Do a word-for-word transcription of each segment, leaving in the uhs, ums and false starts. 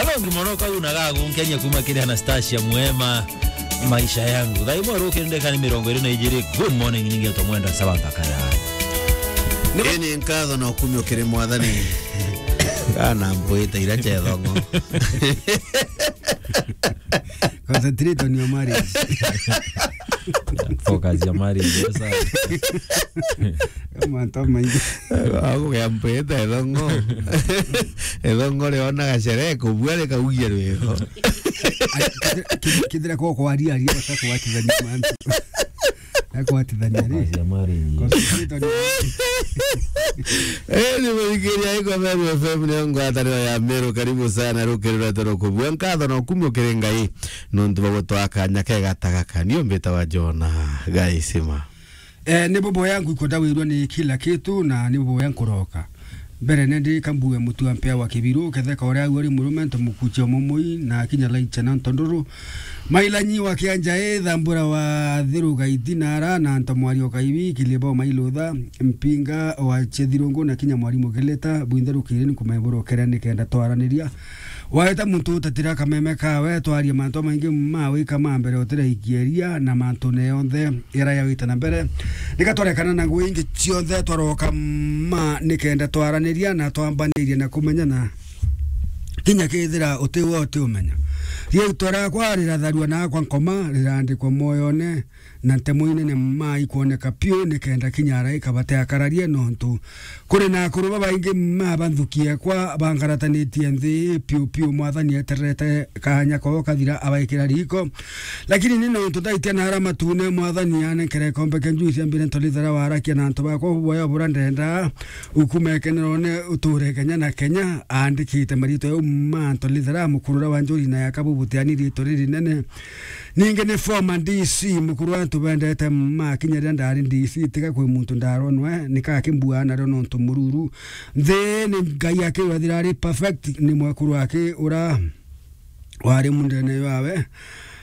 Hello, ngimono kau na gagu nkenya kuma kiri Anastasia Mwema, maisha yangu. Thaa imwe rukiri ndeka ni mirongo iri na ijiri. Good morning, ningetwa Mwenda Saba Thakara. Ii ni nkatho na ukumio kiri Mwathani. Kana mpwite ira cethongo. Concentrate on your marriage. Focus ya marriage, yes, sir. Mantu maingi. Agugea mpwite ethongo. Ethongo riona gacere kubua rikaugia rwego. Ai, kithira, kithira kwa kwaria, aria bata kwatithania mantu. Akwatithania ri. Focus ya marriage. Concentrate on your marriage. Eh, ni muthikiria iko Meru F M, ni ngwataniro ya Meru. Karibu sana, rukiri rwetu rukubua. Nkatho na ukumio kiri Ngai. Nontu bwa gutwaa kanya kega ta gaka, niu mbitawa Jona Gaisima. Eh, ni buboya nkwikwa ndawirwa ni kila kitu, na ni buboya nkuroka. Mbere nende kambue mutu wa mpea wa kibiru, ketheka uria au ari murume, nto mukuchia mumui, na kinya laicha na ntonduru. Mailanyi wa kianja e, thambura wa thiru gaiti nara, na nto mwari o kaibi, kilibo mailutha, mpinga wa chethirungu, na kinya mwari mukileta, bwinthe rukiri nkumeburokera nikenda twaraniria. Waeta muntu utatira kameme kawe, twaria mantu maingi ma wika ma mbere utiraikieria na mantu ne yonthe ira yawita na mbere. Nika twarekana na ngui ingi cionthe twaroka ma nikenda twaraniria na twambaniria na kumenyana. Kinya kethira uti we uti umenya. Riitwa riakwa riratharua na akwa nkoma, rirandikwa mwoyone. Na ntemo inene ma ikwoneka piu, nikenda kinya araika bateakararie, nontu kuri na akuru babaingi ma banthuki ekwa bangaratanitie nthi piu piu. Mwathani etererete kaanya kao kathira abaikira riiko. Lakini ni nontu ndaitia na ara matune, Mwathani anenkere ikombe kia njuici ambire ntolithera warakia na antu bakwa buboya bura ndenda ukumekenerone uture Kenya na Kenya. Aandikite maritwa jau ma ntolithera mukurura wa njuri na yaka bubutiani riitwa ririnene. Ningi ni former D C, mukuru antu bendete ma kinya riria ndari D C, tiga kwi muntu ndaronwe, nika akimbua nario nontu mururu. Nthi ni Ngai akiwethira ari perfect, ni mwekuru aki ura wari mundene yawe.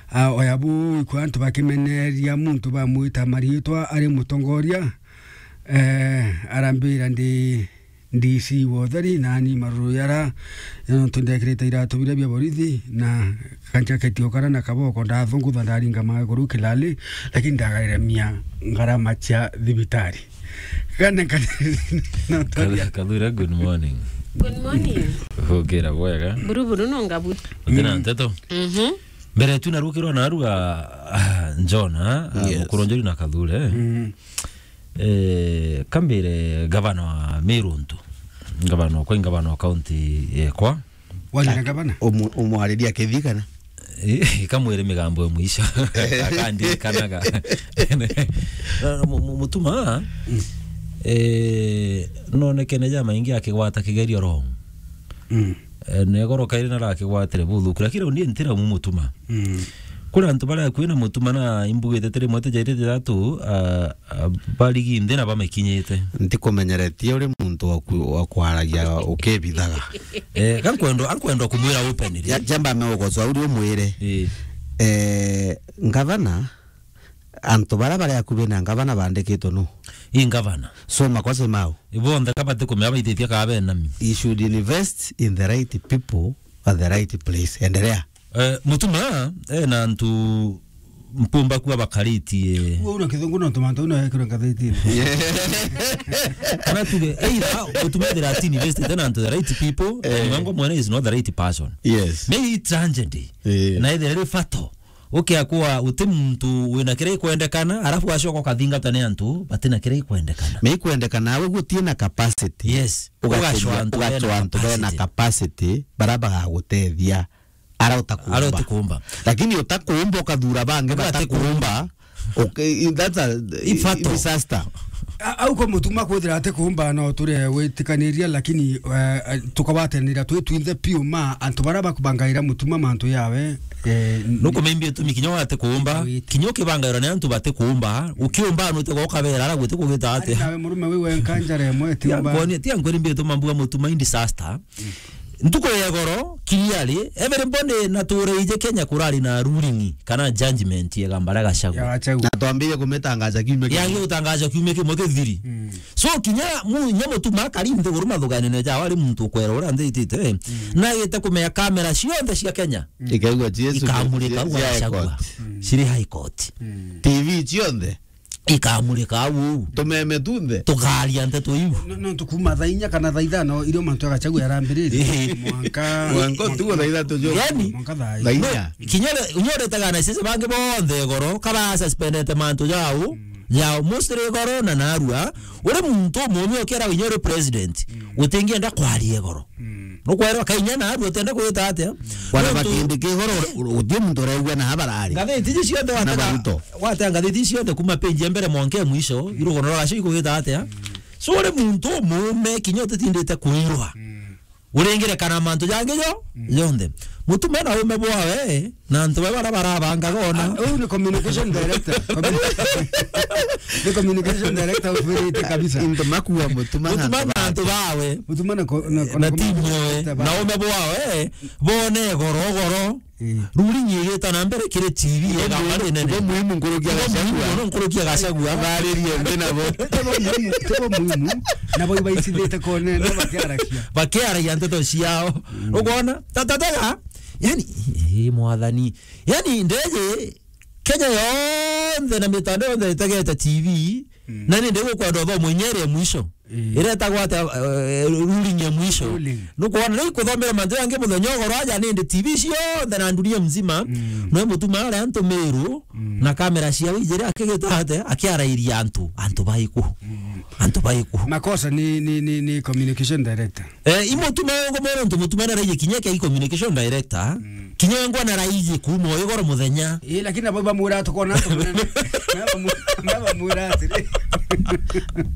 A, oya bu ikwa antu bakimeneria muntu bamwita mariitwa ari mutongoria. Eh, arambira ndi D C wa utheri, nani maruru yara, nontu ndekirite iratu biria bia borithi, na kanjaketi o kara na kaboko, ndathungutha ndaringa maguru kilali, lakini ndagaremia ngarama cia thibitari. Kana, kana, no, Kathu-, Kathure, good morning. Good morning. Hukira bwega. Buru buru no ngabu. Utina nteto? Mhm. Mbere tu narukirwa narua, ah, John, ah, yes. Mukuru Njuri na Kathure. Mhm. Eh, kambire gavana wa Meru ntu. Gavana okwa, gavana wa kaunti yekwa. Wari na gavana? Umu-, umwariria kithi kana? Eh, ikamwire migambo ya mwisho. Akandirikanaga. Na, na, mu-, mu-, mutuma, mm, eh, nonekene jamaingi akigwata kigerio wrong. Mm. Eh, negoro kairi narakigwatire buthuku, lakini riu ndie ntira mu mutuma. Mm. Kuri antu baria kwina mutuma na imbugite tiri imwe tijairite ithatu, ah, ah, barigi nthi na bamikinyite. Ntikumenyeretie uri muntu wa ku-, wa kwaragia ukibithaga. Eh, kankwendwa, ankwendwa kumwira openly. Ja-, jamba amegogocwa uri umwire. Eh. Eh, ngavana, antu baria bari akubi na ngavana bandikitwe nu? I ngavana. So makosa mau? Ibonthe kabati kumea baithitie kaa benami. He should invest in the right people at the right place. Endelea. Eh, mutuma, eh, na antu mpumba kuwa bakaritie. Uguo una kithungu no tumantu una ekirwe ngathitini. Kana tuge, either mutuma ethira ati invested na antu the right people, eh, na mwango mwene is not the right person. Yes. Maybe tragedy. Eh. Na ethira ri fatal. Ukiakwa uti muntu wina kiria ikwendekana, arafu wacoka ukathingatwa ni antu batina kiria ikwendekana. Na ikwendekana, we gutie na capacity. Yes. Ugacwa antu bena capacity. Ugacwa antu bena capacity, bara bagagutethia, ara utakuumba. Ara utakuumba. Lakini utakuumba ukathura bangi batakuumba. Okay, that's a disaster. A-, au kwa mutuma kwithira ati kuumba no turi witikaniria, lakini, eh, eh, tukagwatanira twi twinthe piu ma antu bara bakubangaira mutuma mantu yawe, eh, nukumembi utumi kinya wate kuumba, kinya ukibangairwa ni antu bate kuumba, ukiumba no te gokabera ara gwite kugita ati. Ari nawe murume wi wenka njara imwe ti umba. Kwani ti ankwiri mbi utuma mbuga mutuma in disaster. Ntuku ya igoro, clearly, everybody natureije Kenya kurari na ruling kana judgment ya Gambara Gachagua. Ya Gachagua. Na twambire kumitangaza kiumia kimwe. Yagi gutangazwa kiumia kimwe kithiri. Mm. So, kinya mu-, nya Mutuma akari nthiguru mathuganio jawe ari muntu ukwera uria nthitite, eh, na agite kumenya kamera cionthe cia Kenya. Mm. Ikaigua Jesu, ikamurika cia, cia Gachagua. High Court. Mm. Ciri High Court. Mm. T V cionthe. Ikamurika au. Tumeme tunthe. Tukaria nteto iu. No, no, tukuma thaa inya kana thaa ithano irio mantu ya Gachagua yarambiririe. Ehe. Mwanka, mwanka utugo thaa ithatu jo. Yani, mwanka thaa inya. Thaa inya. Kinya ure-, kinya uretaga na sisi bangi bonthe igoro, kaba suspendete mantu jau, mm, jau, mostly igoro na narua. Uri muntu umumi ukera winya uri president, mm, utingienda kwaria igoro. Mm. Nukwera kainya na aru utenda kwita atia? Wana nontu bakindi kigoro, uti muntu uregua na habarari. Ngathiti ici cionthe na watega, Baruto. Watega ngathiti ici cionthe kuma page ya mbere mwanka ya mwisho, irugono rwa gacio ikugita atia? Mm. So uri muntu umume kinya utitindite kwirwa. Mm. Uringire kana mantu jangi jo, mm, jonthe. Mutuma na ume bwawe, na antu bawe bara barabangaga ona. Ah, uyu ni communication director. Ni communication director ufirite kabisa. Into makua Mutuma na Mutuma antu na antu bawe. Mutuma na ko-, na, na, na timu yoe, na ume bwawe, bone goro, goro. Eh. Ruling igita na mbere kiri T V, ibo ega muhimu, bari nene. Ibo muhimu nkurukia Gachagua. Ibo muhimu nkurukia Gachagua. Baririe nthi nabo. Tibo muhimu, tibo muhimu. Nabo ibaicithite kone, na bakiarakia. Bakiaragia nteto ciao. Mm. Ukwona? Tatatega. Yani, eh, mwathani. Yani, ndeje, Kenya yonthe na mitandao yonthe itegete T V, mm, na ni ndigukwenda uthomo inya iria mwisho. Mm. Iretagwa atia, eh, ruling ya mwisho. Ruling. Nukwona, riu kuthomera mantu yangi muthenya ugoro aja nindi T V cionthe na dunia mzima, mm, no Mutuma aria antu miru, mm, na kamera ciao ijiri akigita atia, akiarairia antu, antu baiku. Mm. Antu baiku. Makosa ni, ni, ni, ni communication director. Eh, i Mutuma ngomora untu Mutuma naraiji kinya kia communication director. Mm. Kinya wengwa naraiji kuma o igoro muthenya. Eh, lakini nabo bamwira tukona antu munene. Nabo mu-, nabo bamwira atiri.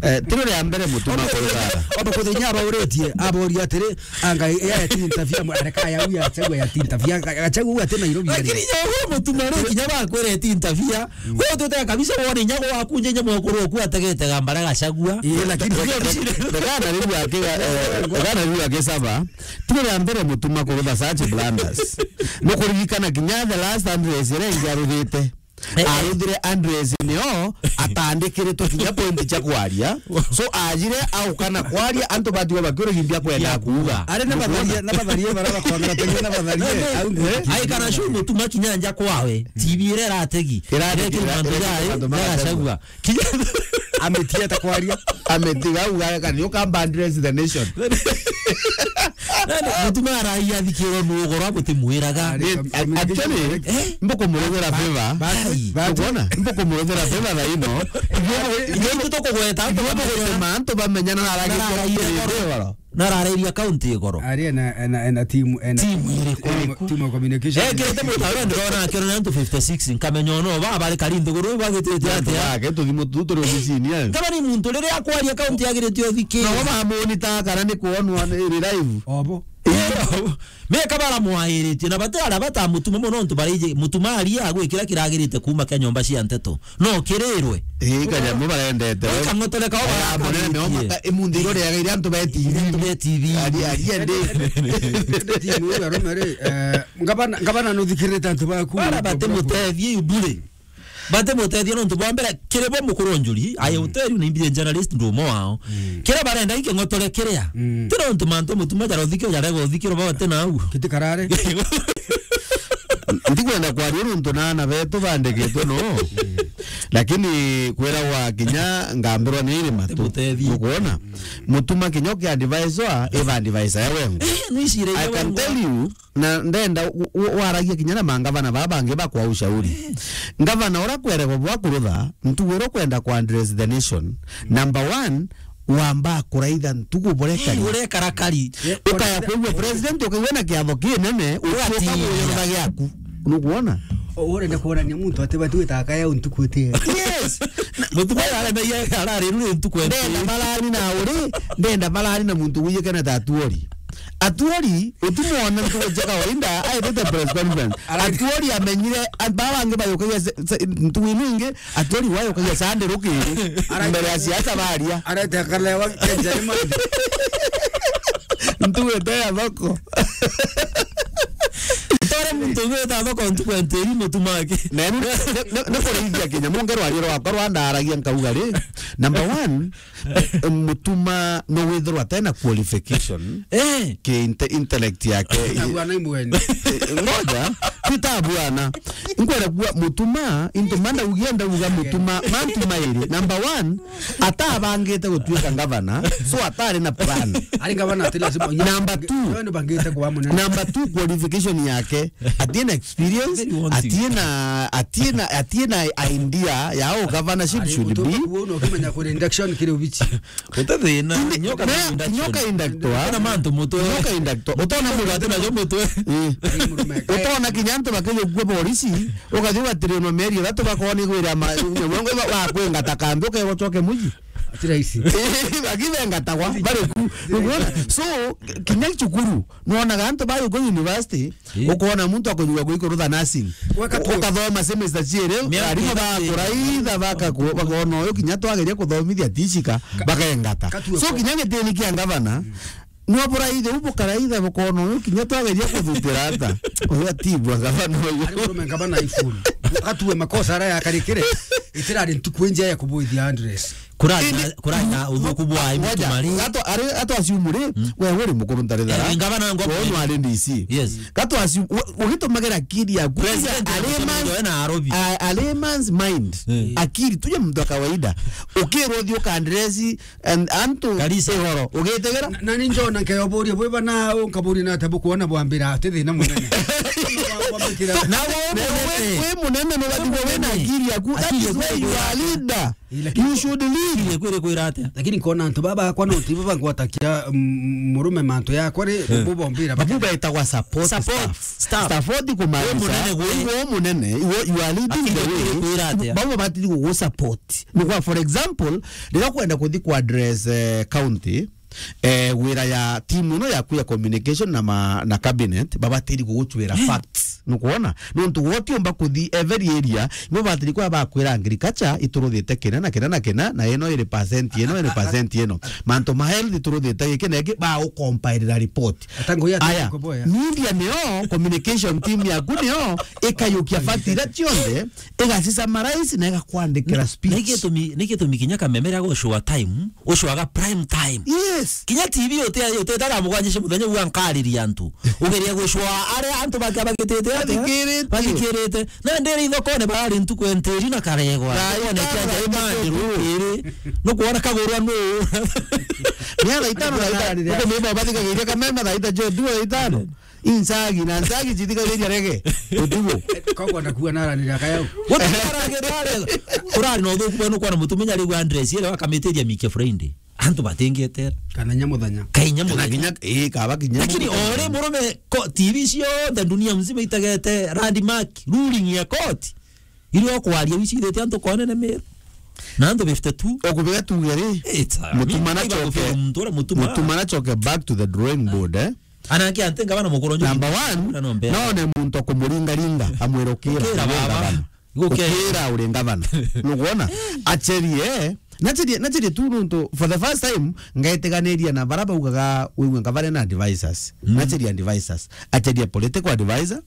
Eh, tiro ria mbere Mutuma kurugara. Ondo kuthenya abauritie, aboria atiri, anga ya tinta fia, areka ya uya, chagua ya tinta fia, chagua ati Nairobi. Lakini ya Mutuma ri kinya bakwire tinta fia. Mm. Wewe utete kabisa wone nyago waku nje nyamo kuru ku ategete Gambara Gachagua. Eh, lakini ndio kabisa. Ndagana riu akiga, eh, ndagana riu akisaba. Tiro ria mbere Mutuma kurutha such blunders. Nukuririkana kinya the last address iria ingi aruthite. Eh, eh. Aruthire address nio atandikiritwe kinya point cia kwaria. So, ajire aukana kwaria, antu batiwa bakiura gimbi akwenda kuuga. Ari na batharia, na batharia bara bakwangara tege na batharia. Eh, au ndio. Ai kana shu Mutuma kinya nja kwawe. T V iria irategi. Irategi, irategi mantu mantu ya Gachagua. Kinya ametiga ta kwaria. Ametiga uga kana you come and address the nation. Nani Mutuma araia thikiro nu ugoro amutimwiraga. Ari, eh, communication actually, eh? Mbukumurethera favor. Ba-, ba-, ai. Ukwona? Mbukumurethera favor thaa ino. Ithuĩ itũ tũkũgweta, ithuĩ tũkũgweta. Tũgũtũma antu bamenye na aragia igoro. Na ararairia county igoro. Ari ena, ena, ena team, ena team iriku? Team, team of communication. Eh, ekirite mutaro ndirona akirona antu fifty six, nkamenya ono ba bari kari nthiguru bagitite atia. Bake tuthimu tu turi ofisini, eh. Kama ni muntu riria akwaria county agirite uthikire. No bamoni ta kana ni kuonwa ni live. Obo. Eh, me kabara mwairitie na bate ara bata Mutuma mono ntu bariji Mutuma aria agwikira kiragirite kuma kia nyomba cia nteto. No kirirwe. Eh, kanyamu barendete. Kang'otore kao. Aya, munene neo maka-, imunthi iro riaga iria antu be T V. Antu be T V. Ari, ari, ende. Ende T V uyu arome ri, eh, ngabana, ngabana nuthikirite antu baku. Bara bate mutethie ibure. Bate mutethie nontu bwa mbere, kiri bo mukuru njuri, I will tell you, ni mbire journalist ndu umwe wao. Mm. Kira barenda iking'otore kiria. Mm. Tira untu mantu Mutuma jara uthikio, jarega uthikio, baba tena au. Kiti karare. Ndikwenda kwaria nontu na ana betu bandikitwe no. Lakini kwiragwa kinya ngambirwa ni iri matu. Mutethie. Ukwona? Mutuma kinya ukiadviswa, iba advisor ya wengwa. Eh, ni cira ya wengwa. I can tell you, na ndenda u-, u-, waragia kinya na mangavana baba bangi bakwa ushauri. Eh. Ngavana ura kwerego bwa kurutha, ntugu ira ukwenda ku address the nation. Number one, wamba kuraitha ntugu burekari. Eh, urekara kari. Ukaya kwigua president, ukaigua na kiatho kinene, ugatira. Ukabuya giaku. Nukwona? O, urenda kuonania muntu ati batu witaga kaya untuku iti. Yes. Na Mutuma arenda ye, arari ruri ntuku eti. Ndenda barari na uri, ndenda barari na muntu wiyekana ta Atuori. Atuori, utimwona ntuku cia kawaida, aitite press conference. Ara- Atuori amenyire, a-, baba bangi bayukagia se-, se-, ntuku inu ingi, Atuori wayukagia Sunday rukiri, ara- mbere ya siasa baria. Arete akalewa kenja imani. Ntugu ete ya thoko. Tore muntu ugwita thoko ntuku entiri Mutuma aki. Na ni, ni, ni, ni kurithia kinya munge rwario rwakwa rwandaragia nkauga ri, number one, Mutuma no withirwa atena qualification. Eh. Ki inte-, intellect yake. Tabuana imweni. Eh, ngoja, titabuana. Nkwenda kuwa Mutuma, into manda ugia ndauga Mutuma, mantu mairi. Number one, atabangite gutuika ngavana, so atari na plan. Ari ngavana ati lazima. Number two. Wewe ni bangite kwa munene. Number two, qualification yake. Atina experience, very wanting. Atina, atina, atina idea ya how governorship should be. Kuona ukimenya kuri induction kiri ubichi. Utathina, nyoka na induction. Nyoka inductor. Kana mantu mutwe. Nyoka inductor. Utona mundu atina jo mutwe. Eh. Ari murume. Utona kinya antu bakijukua polisi, ukathi ugatiri no meri ithatu bakoni gwira ma, wa kwingata kambi ukegocoke muji. Ati rahisi. Bakithengata kwa, bari ku. Uguona? So, kinya cukuru, nwonaga antu bari ku university, eh, ukona muntu akujuga gwikurutha nursing. Weka tu. Ukathoma semester ciiri, miaka arimu ithatu bakuraitha, bakaku-, bakona uyu kinya twageria kuthomithia tishika, bakengata. Ka-, so, kinya gitini kia ngavana, nwa buraithe, u bukaraitha, bukona uyu kinya twageria kuthutira ata. Uyu atibwa ngavana uyu. Ari murume ngavana ifulu. Atue makosa ara yakarikire, itirari ntuku injia ya kubuithia address. Kurari na, kurari na uthuku bwa aibu tumari. Gato, ari, gato assume ri, we uri mukuru ntari thara. Eh, ngavana ngwa. Wono ari D C. Yes. Gato assume, u-, ugitumagira akili yaku. President a layman's, a, a layman's mind. Eh. Akili, tuje mtu wa kawaida. Ukirwo thi ukandresi, and antu igoro. Ugitegera? Na, na ni njona nkeyoboria, bwe bana, u nkaboria na tabu kuona bwambira, ati thina munene. Na we, we, we munene, no gatigwo wina akili yaku. That is why you are leader. Ii, lakini you should lead. Ile kwire kwira atia? Lakini nkona antu baba akwa no tibo bangwatakia, mm, murume mantu yakwa ri, eh, bo bombira. Babu betagwa support staff. Support staff. Support kumaanisha we munene gwe. Iwe munene, iwe you are leading the way. Kwira atia? Babo batiri gugu support. Nigwa, for example, riria kwenda kuthi ku address, eh, county, eh, wira ya team ino yaku ya communication na ma-, na cabinet, babatiri gugucwira facts. Nukwona? Nontu gwe utiumba kuthi every area, ibo batiri kwa bakwira agriculture ituruthite kina na kina na kina, na ino iri percent, ino iri percent ino. Mantu ma health ituruthite giki na giki, ba ucompilera report. Aya, media nio, communication team yaku nio, ikayukia facts iria cionthe, igacisummarize na igakwandikira speech. Na, na igitumi, na igitumi kinya kameme ria gucwa time, ucwaga prime time. Yes. Kinya T V uti-, utetaga mugwanja cia muthenya uga nkariria antu. Ugeria gucwa aria antu bake bagitite atia? Bathikiritie. Bathikirite. Na ndiri ithokone barari ntuku entiri na karegwa. Thokone kia Njaimani rukiri. Nukwona kagurwa nu. Ni thaa itano na itano. Uko mimi bathikagiria kameme thaa ita jo, thaa itano. Inzagi, na nzagi cithikagiriria rege. Utugo. Kogwa na kuwa nara ni raka yau. Wote nara ni raka. Kurari no thuku bwenu kwa mutumenya riu address ile wakamitiria Mike Friday. Antu batingietera. Kana nyamuthenya. Kai nyamuthenya. Kana kinya, eh, kaba kinya. Lakini ore murume ko T V cionthe dunia mzima itagete landmark ruling ya court. Irio kwaria wicithite antu konene Meru. Na antu fifty-two. Okubega tuge ri. It's, I mean, mutumana choke. Muntu ura mutuma. Mutumana choke back to the drawing board, eh? Anake ante ngavana mukuru nju. Number one, na no mbere. None muntu akumuringaringa, amwira ukira, ukira uri baba. Ngavana. Ukira uri ngavana. Nukwona? Acherie, nacherie, nacherie tu nuntu for the first time, ngaitiganiria na bara baugaga wigue ngavana na advisors. Mm. Nacherie advisors. Acherie political advisor,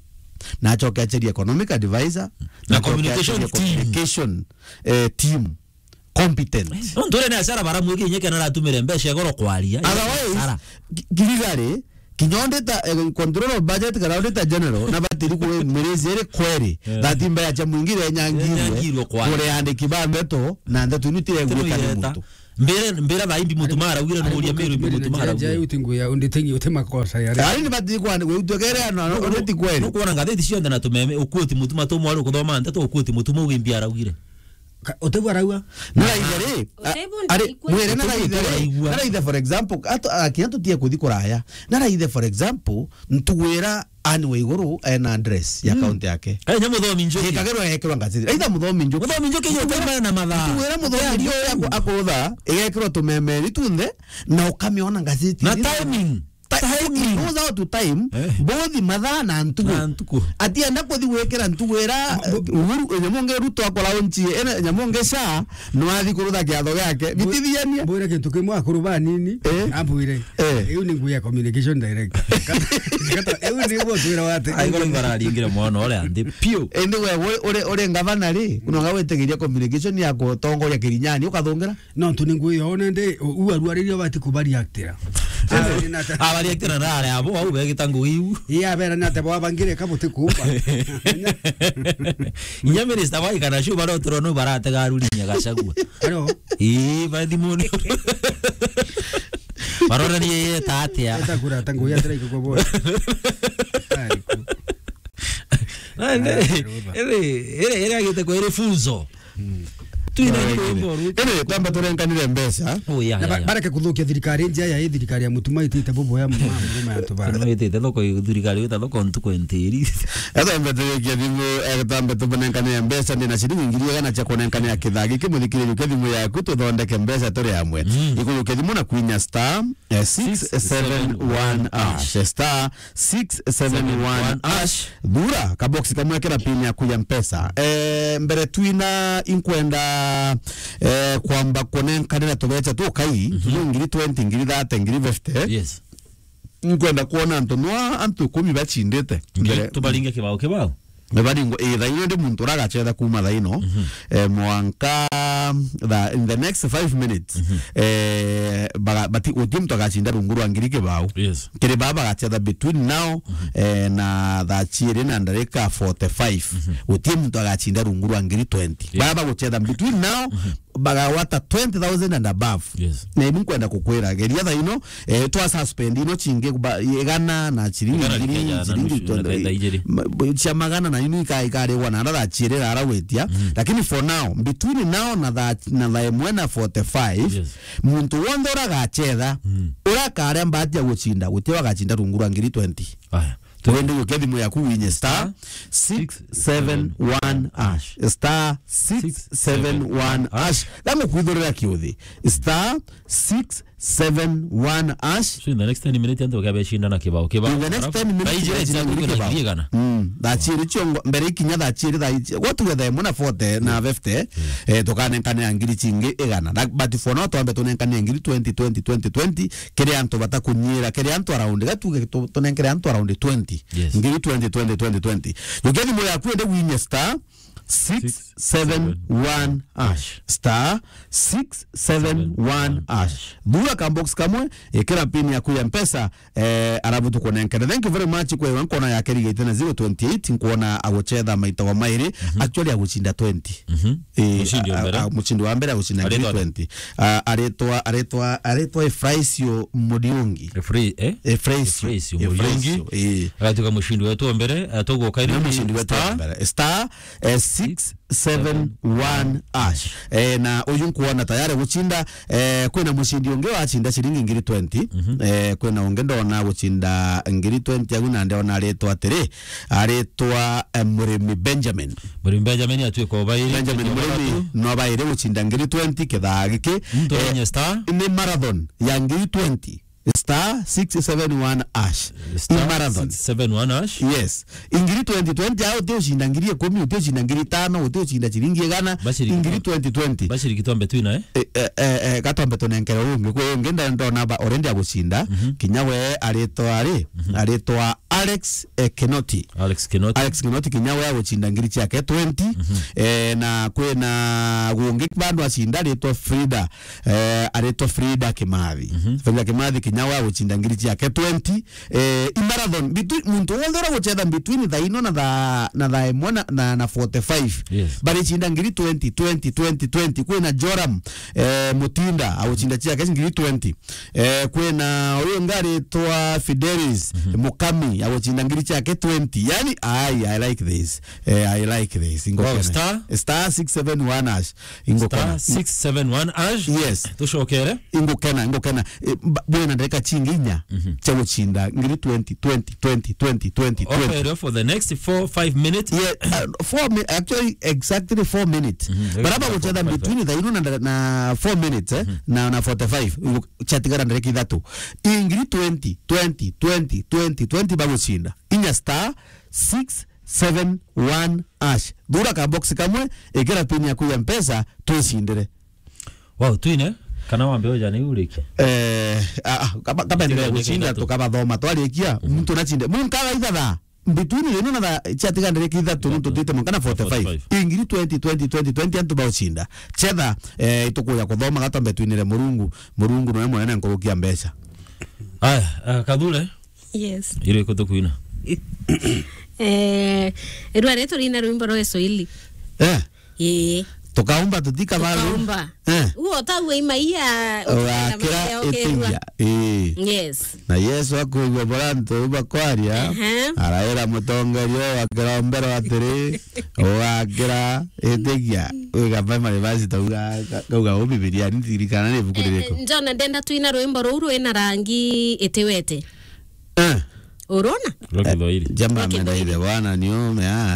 na acoke acherie economic advisor, na acoke communication acherie team. Communication, eh, team. Competent. No nture ni acara bara mwiki inye kena aratumire mbeca igoro kwaria. Otherwise, acara. Gi-, girigari, kinya auditor, eh, control of budget kana auditor general, na batiri kwe mirezi iri kweri. Yeah. That mbea cha mwingire nyangirwe. Nyangirwe kwaria. Kure andiki ba ndeto, na ndeto inu tire gwika ni muntu. Mbere, mbere thaimbi mutuma araugire no uria mero mbi mutuma araugire. Uti nguya, undi tengi, uti makosa ya. Ari ni batiri kwani, we utwekere ana, no, no, ti kweri. No kuona ngatheti cionthe na tumeme, ukuoti mutuma tumwari kuthoma ndeto, ukuoti mutuma ugimbi araugire. Ka-, utegwa araua? Naraithe ri, a-, ari, mwire naraithe ri, naraithe, for example, ato, a, kinya tutie kuthi kuraya. Naraithe, for example, ntugwira Anne Waiguru ena address ya county yake. Kai nya muthomi njuki. Ikagirwa yekirwa ngazeti. Aitha muthomi njuki. Muthomi njuki yo taima na mathaa. Ntugwira muthomi njuki ako-, akurutha, igekirwa tumemeri tunthe, na ukamiona ngazeti. Na timing. Timing. He knows how to time, eh, both mathaa na ntugu. Na ntugu. Atienda kuthi gwikira ntugu ira, Bo- eh, Uhuru, nyamu ngi Ruto akora unchi, ene nyamu ngi SHA, no athi kurutha kiatho giake. Bo- Bitithianie. Mbwire kintu kimwe akuru banini, eh, ambwire, eh, iu ni ngugi ya communication director. Kata, kata, iu ni gwo twira wate. Ai, koro bararingire mwana uria nthi piu. Indi we, we, uri, uri ngavana ri, kunonga witigiria communication ya kutongoria Kirinyani, ukathungira? No, tu ni ngwi yo, nende, u-, u arwariria bati kubaria actira. Ah, ni nata- Abari actira na ari abo, au begita ngugi iu. Iya, bera ni ate bwa bangire ka buti kuumba. Inya minister wa ikana shu barotirwo no baratega aruri nya Gachagua. Hello. Ii, bathimuni. Baroranie yeta atia. Eta kura, ta ngugi atira ikugwa bora. Ai, ku- Na ende, ere, ere, ere agite kwa ere funzo. Mm. Twina nyimbo ru. Ere, twamba turenkanire mbeca. Oh, yeah, yeah, yeah. Na ba-, bareke kuthukia thirikari njia ya thirikari ya Mutuma itite bubu ya mama, mama ya tuba. No itite thoko, thirikari ita thoko ntuku entiri. Etambe turekia thimu, etambe tunenkane mbeca, ndina ciringi ngiri igana cia kunenkane ya kithagi kimuthikiririo kia thimu yaku, tuthondeke mbeca turi amwe. Mm. Ikurukia thimu na kwinya star, eh, six seven one hash. Star six seven one hash. Thura kabox kamwe kira pin yaku ya mpesa. Eh, mbere twina inkwenda, eh, kwamba kunenkanira tubeca tukai, mhm, tuyo ngiri twenty, ngiri thirty, ngiri fifty. Yes. Nkwenda kwona antu nwa antu ikumi bachindite. Ngi-, mbere tubaringe kibao, kibao. Baringwa, eh, thaino ndi muntu uragachetha kuma thaino, mhm, eh, mwanka tha-, in the next five minutes, mhm, eh, baga-, bati-, guti muntu agachinda rungu rwa ngiri kibao. Yes. Kiri baba bagachetha between now, mhm, eh, na thaa chiiri na ndarika forty-five. Mhm. Guti muntu agachinda rungu rwa ngiri twenty. Yes. Baba baguchetha between now, mhm, bagawata twenty thousand and above. Yes. Na ibu nkwenda kukwira, geria thaino, eh, twa suspend ino chingi ba-, igana na chiringi igana ngiri, chiringi twenty, ma-, cia magana na inu ika-, ikarigwa na ara thaa chiiri rara gwitia. Mm. Lakini for now, between now na thaa, na thaa imwe na forty-five, yes, muntu wonthe uragachetha, mm, urakaria mbati ya guchinda, guti wagachinda rungu rwa ngiri twenty. Aya. Wende gukia thimu yaku winye star six seven one hash. Star six seven one hash. Gamu kwithurira kiuthi. Star six seven one hash. So in the next ten minutes, antu bakabechinda na kibao, kibao. In the next ten minutes, thaa ijiri cia ntuku na ngiri igana. Mm. Thaa chiiri chiongo, mbere ikinya thaa chiiri, thaa iji-, gwa tuge thaa imwe na forty na fifty, mm, eh, tukanenkane ya ngiri chingi igana. That, but for now, twambe tunenkane ya ngiri twenty, twenty, twenty, twenty, kiri antu batakunyira, kiri antu around, gatuge tu-, tunenkere antu around twenty. Yes. Ngiri twenty, twenty, twenty, twenty. Jukia thimu yaku ende winye star six seven one hash. Star six seven one hash. Thura ka box kamwe, ikira pin yaku ya mpesa, eh, arabu tukunenkere. Thank you very much. Kwewa nkona yake rigite na zero twenty-eight, nkuona aguchetha maita wa mairi, mhm, actually aguchinda twenty. Mhm. Eh, mushindi wa a-, mbere. A-, mushindi wa mbere aguchinda ngiri twenty. Ah, aretwa, aretwa, aretwa Efraisio Muriungi. Efra-, eh? Efraisio. Efraisio Muriungi. Efraisio, eh. Agatuika mushindi wetu wa mbere, ah, tuguka na mushindi wetu wa mbere. Star, eh, six seven one hash. Eh, na uyu nkuona tayari guchinda, eh, kwina mushindi ungi wachinda ciringi ngiri twenty. Mhm. Eh, kwina ungi ndona guchinda ngiri twenty agu na ndona aretwa atiri, aretwa, eh, Murimi Benjamin. Murimi Benjamin atuika obairi. Benjamin Murimi no abairi guchinda ngiri twenty kithaa giki. Muntu, eh, wenye star? Ni marathon ya ngiri twenty. Star six seven one hash. Star marathon. Six seven one hash. Yes. Ngiri twenty twenty, au uti ucinda ngiri ikumi, uti ucinda ngiri itano, uti ucinda ciringi igana. Bashiriki ngiri twenty twenty. Bashiriki twambe twina, eh? Eh, eh, eh, eh, gatombe tunenkere ungi. Kwi ungi nda-, ndona ba already agucinda. Mhm. Kinya we aritwa ari, mhm, aritwa Alex, eh, Kinoti. Alex Kinoti. Alex Kinoti kinya we agucinda ngiri ciake twenty. Mhm. Eh, na kwina gungi bandu acinda aritwa Frida. Eh, aretwa Frida Kimathi. Mhm. Frida Kimathi kinya wa gucinda ngiri ciake twenty. Eh, i marathon, between, muntu wonthe ura guchetha between thaa ino na thaa, na thaa imwe na, na, na forty-five. Yes. Baricinda ngiri twenty, twenty, twenty, twenty. Kwina Joram, eh, Mutinda, agucinda ciake ngiri twenty. Eh, kwina uyu ungi aretwa Fidelis, mhm, Mukami, gucinda ngiri ciake twenty. Yani, ai, I like this. Eh, I like this. Ingokena. Wow, star? Star six seven one hash. Ingokena. Star six seven one hash. Yes. Tucokere. Ingokena, ingokena. Eh, ba-, bwina ndagika cingi inya, mhm, cia gucinda ngiri twenty, twenty, twenty, twenty, twenty, twenty. Okay, for the next four, five minutes. Yeah, uh, four mi-, actually, exactly four minutes. Mhm. Bara bagucetha between thaa ino na, na four minutes, eh, mhm, na, na forty-five. Ingo-, ciatigara ndagika ithatu. Ingiri twenty, twenty, twenty, twenty, twenty bagucinda. Inya star six seven one hash. Thura ka box kamwe, ikira pin yaku ya Mpesa, twicindire. Wow, twine, kana wambe uja ni urikia? Eh, ah, ah, kaba, kaba endelea gucinda, tukabathoma, twarikia, mhm, muntu nacinde. Muntu kaga ithatha. Between rino na thaa, ciatiga ndagika ithatu, nontu twite mwanka na forty-five. Forty-five. Ingiri twenty, twenty, twenty, twenty, antu baucinda. Cetha, eh, itukuja kuthoma gatwa mbetwinire Murungu. Murungu noe munene nkurukia mbeca. Aya, ah, Kathure? Yes. Iriku tukwina? Eh, irwa ri turina rwimbo rwa Kiswahili. Eh? Ii. Tukaumba tutika baru. Tukaumba. Eh. Uo tawe imaia ugakira itigia. Ii. Yes. Na Yesu akwigua bora antu bakwaria, ehe, araira mutongeria uu wa kirombero atiri, ugakira itigia. Wiga Bible verse tauga, kauga uu Bibilia, ni ndirikana ni ibuku ririku. Eh, John, ndenda twina rwimbo ruu rwina rangi itiwete. Eh. Urona? Rwa Kithwairi. Jamba ameenda ile bwana niume, ah.